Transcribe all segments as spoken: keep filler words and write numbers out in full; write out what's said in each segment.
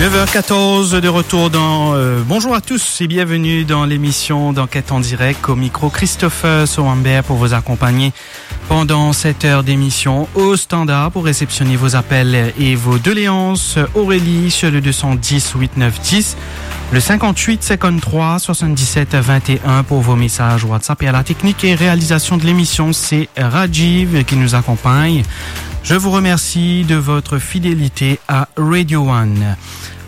Neuf heures quatorze, de retour dans, euh, bonjour à tous et bienvenue dans l'émission d'Enquête en direct. Au micro, Christopher Sowamber pour vous accompagner pendant cette heure d'émission. Au standard pour réceptionner vos appels et vos doléances, Aurélie sur le deux cent dix huit neuf dix, le cinquante-huit cinquante-trois soixante-dix-sept vingt et un pour vos messages WhatsApp. Et à la technique et réalisation de l'émission, c'est Rajiv qui nous accompagne. Je vous remercie de votre fidélité à Radio One.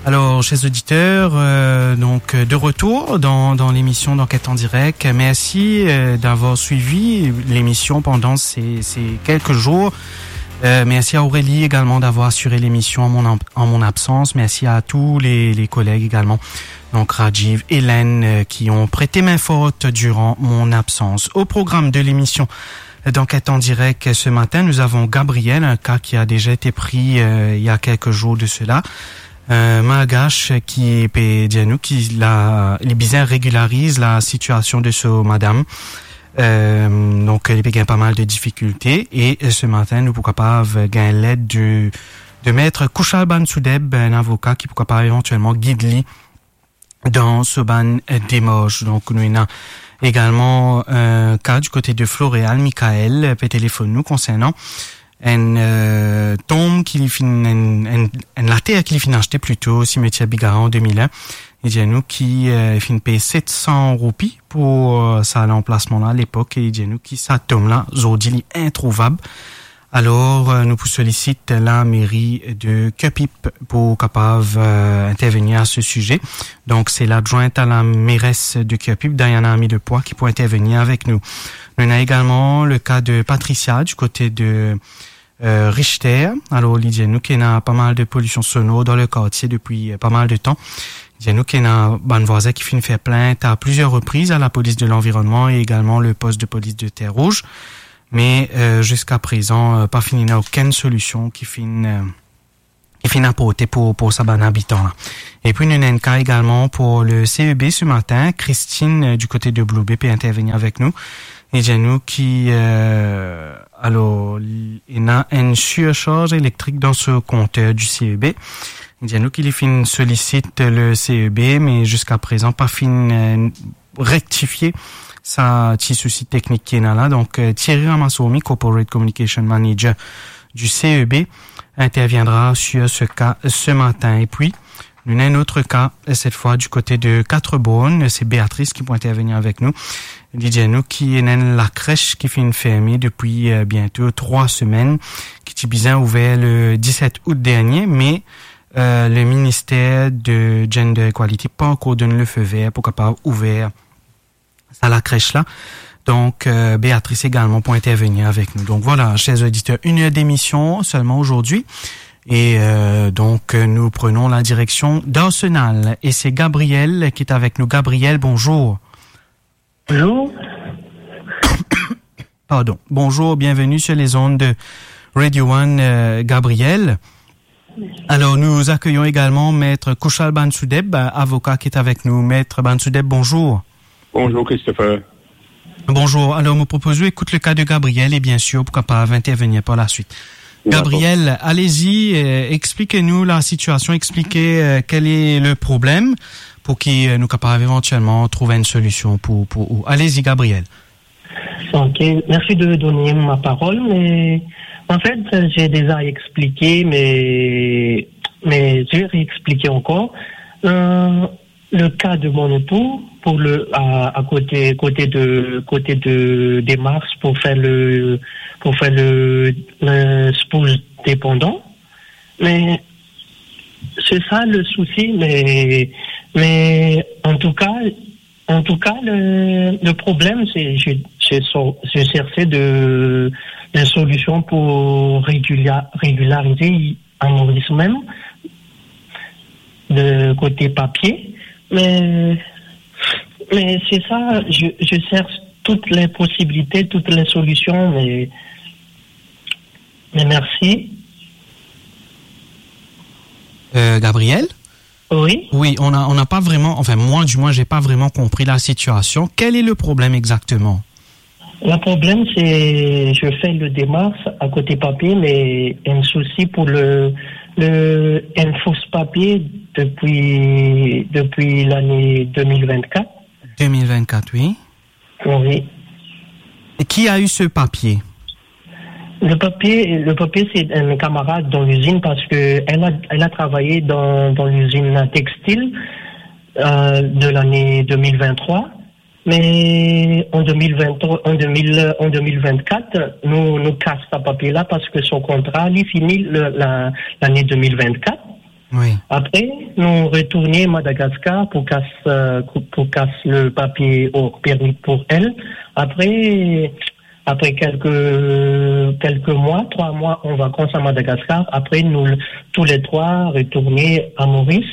Alors, chers auditeurs, euh, donc, euh, de retour dans, dans l'émission d'Enquête en direct. Merci, euh, d'avoir suivi l'émission pendant ces, ces quelques jours. Euh, merci à Aurélie également d'avoir assuré l'émission en mon, en mon absence. Merci à tous les, les collègues également, donc Rajiv, Hélène, euh, qui ont prêté main forte durant mon absence. Au programme de l'émission d'Enquête en direct ce matin, nous avons Gabriel, un cas qui a déjà été pris, euh, il y a quelques jours de cela. Euh, Malgache ki pe dir nou ki la, li bizin regilariz la sitiasion de so madam. Euh, donk, li pe gagn pa mal de difikilte e, euh, se matin, nou pou kapav gagn led de, de Maître Kouchal Bansoudeb, enn avoka ki pou kapav evantielman gid li dan so bann, euh, demars. Donk, nou ena egalman, euh, ka di kote de Floréal, Michael, euh, pe telefonn nou konsernan enn, euh, tonm ki li finn, enn, enn, enn later ki li finn aste plito, simetier Bigara an de mil enn. Li dir nou ki, euh, finn pey set san roupi pou, euh, sa lanplasman la lepok, e li dir nou ki sa tonm la, zordi, li introuvab. Alor, euh, nou pou solisit la meri de Curepipe pou kapav, euh, intervenir a se size. Donk, se ladrwint a la meres de Curepipe, Diana Amidepoix, ki pou intervenir avek nou. Nou ena egalman le ka de Patricia, di kote de, euh, Richter. Alor, li dir nou ki ena pa mal de polision sonor dan le kartie depi, euh, pa mal de tan. Li dir nou ki ena bann vwazin ki finn fer plint a plizier repriz a la polis de lanvironnman e egalman le post de polis de Terre Rouge. Me, euh, ziska prezan, euh, pa finn ena okenn solision ki finn, euh, ki finn aporte pou, pou sa bann abitan la. Epi nou ena enn ka egalman pou le C E B se matin, Christine, euh, di kote de Blue Bay pe intervenir avek nou. Li dir nou ki, euh, alor, li ena enn sirsarz elektrik dan so konter di C E B. Li dir nou ki li finn solisit le C E B, me ziska prezan pa finn, euh, rektifie sa ti sousi teknik ki ena la. Donk, euh, Thierry Ramasourmi, Corporate Communication Manager du C E B, interviendra sur ce cas ce matin. Epi, nou ena enn lot ka, euh, cette fois du côté de Quatre-Bornes. Se Béatrice ki pou intervenir avek nou. Li dir nou ki ena enn lakres ki finn ferme depi, euh, biento trwa semenn, ki ti bizin ouver le diset out dernie, me, euh, le minister de Gender Equality pa ankor donn le feu vert pou kapav ouver sa lakres la. Donk, euh, Béatrice egalman pou intervenir avek nou. Donk vwala, chers auditeurs, une heure d'émission seulement aujourd'hui. Et, euh, donc, euh, nous prenons la direction d'Arsenal. Et c'est Gabriel qui est avec nous. Gabriel, bonjour. Bonjour. Pardon. Bonjour, bienvenue sur les ondes de Radio One, euh, Gabriel. Alors, nous accueillons également Maître Kouchal Bansoudeb, avocat qui est avec nous. Maître Bansoudeb, bonjour. Bonjour, Christopher. Bonjour. Alors, mo propoz ou ekout le ka de Gabriel e, bien sûr, pou kapav intervenir par la suite. D'accord. Gabriel, allez-y, euh, expliquez-nous la situation, expliquez, euh, quel est le problème pour que, euh, nous capables éventuellement trouver une solution pour, pour vous. Allez-y, Gabriel. Ok, merci de donner ma parole, mais en fait, j'ai déjà expliqué, mais, mais je vais réexpliquer encore. Euh, le cas de mon époux, pour le, à, à côté, côté de, côté de, des Mars, pour faire le, pour faire le, le spouse dépendant. Mais c'est ça le souci, mais, mais en tout cas, en tout cas, le, le problème, c'est, je, je so-, je cherchais de, de solutions pour régulia-, régulariser à Maurice même, de côté papier. Mais, mais c'est ça, je, je cherche toutes les possibilités, toutes les solutions, mais, mais merci. Euh, Gabriel ? Oui. Oui, on a, on n'a pas vraiment, enfin, moi, du moins, j'ai pas vraiment compris la situation. Quel est le problème exactement ? Le problème, c'est, je fais le démarche à côté papier, mais un souci pour le, Le, enn fos papie depi, depi lane de mil vennkat. De mil vennkat, wi. Wi. Et qui a eu ce papier ? Le papier, le papier, c'est un camarade dans l'usine parce que elle a, elle a travaillé dans, dans l'usine textile, euh, de l'année deux mille vingt-trois. Mais en deux mille vingt, en deux mille, en deux mille vingt-quatre, nou, nou kas sa papie la parce que son contrat, li fini le, la, lane de mil vennkat. Wi. Apre, nou retourne Madagaskar pou kas, euh, pou, pou kas le papie work permit pou elle. Apre, apre kelke, kelke mwa, trwa mwa an vakans a Madagaskar, apre nou, tou le trwa, retourne a Moris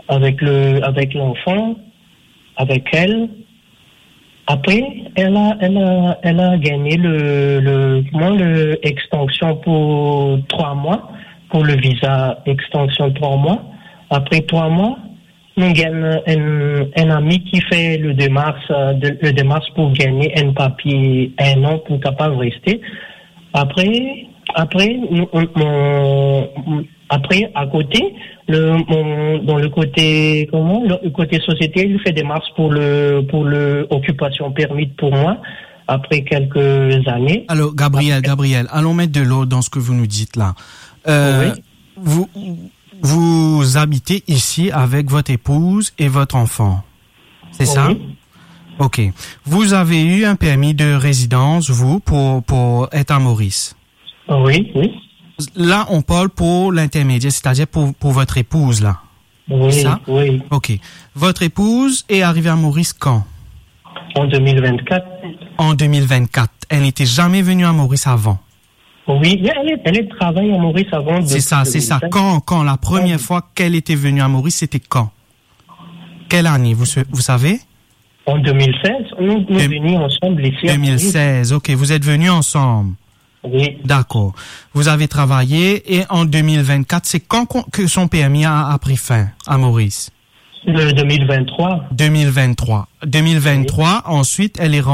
avek le, avek lanfan, avek elle. Apre, elle a, elle a, elle a gagné le, le, kouma, le extension pou trwa mwa, pou le viza extension trwa mwa. Apre trwa mwa, nou gagn enn, enn ami ki fer le demars, euh, de, le demars pou gagn enn papie enn an pou kapav reste. Apre, apre, nou, nou, nou, apre, akote, le, mon, dan le kote, kouma, le, le kote sosiete, li fer demars pou le, pou le occupation permit pou mwa, apre kelke zane. Alors, Gabriel, Gabriel, allons mettre de l'ordre dans ce que vous nous dites là. Euh, Oui. vous, vous habitez ici avec votre épouse et votre enfant. C'est ça ? Oui. Ok. Vous avez eu un permis de résidence, vous, pour, pour être à Maurice ? Oui, oui. Là, on parle pour l'intermédiaire, c'est-à-dire pour, pour votre épouse, là. Oui, c'est ça ? Oui. Ok. Votre épouse est arrivée à Maurice quand ? En deux mille vingt-quatre. En deux mille vingt-quatre. Elle n'était jamais venue à Maurice avant. Oui, elle, elle travaille à Maurice avant. C'est ça, c'est ça. Quand, quand la première fois qu'elle était venue à Maurice, c'était quand ? Quelle année, vous, vous savez ? En deux mille seize, nous, nous venions ensemble ici à Maurice. Deux mille seize, ok, vous êtes venus ensemble. Oui. D'accord. Vous avez travaillé et en deux mille vingt-quatre, c'est quand qu'on- que son permis a, a pris fin à Maurice ? Le deux mille vingt-trois. Deux mille vingt-trois. Deux mille vingt-trois, oui. Ensuite, elle est